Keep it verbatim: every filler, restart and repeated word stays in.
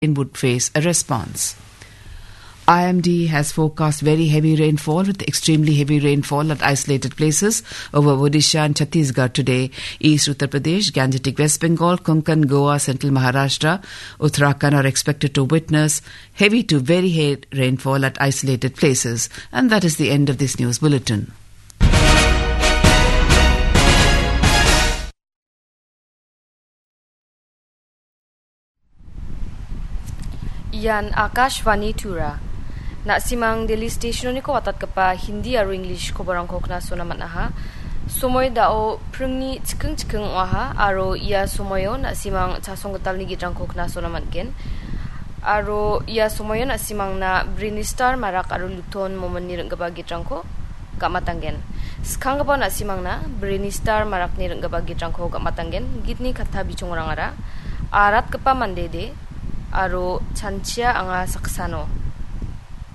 would face a response. I M D has forecast very heavy rainfall with extremely heavy rainfall at isolated places over Odisha and Chhattisgarh today. East Uttar Pradesh, Gangetic West Bengal, Konkan, Goa, Central Maharashtra, Uttarakhand are expected to witness heavy to very heavy rainfall at isolated places. And that is the end of this news bulletin. Ian Akashvani Tura. Na·simang Delhi Stationoniko watatgipa Hindi aro English koborangko knasona man·aha. Somoi dao pringni chiking chiking ong·aha aro ia somoio na·simang chasong gitalni gitrangko knasona man·gen. Aro ia somoio na·simangna Brinistar Marak aro Luton Momonni ring·gipa gitrangko gam·atanggen. Skanggipa na·simangna Brinistar Marakni ring·gipa gitrangko gam·atanggen. Gitni katta bichongrangara aratgipa mandede aro chanchia anga saksano.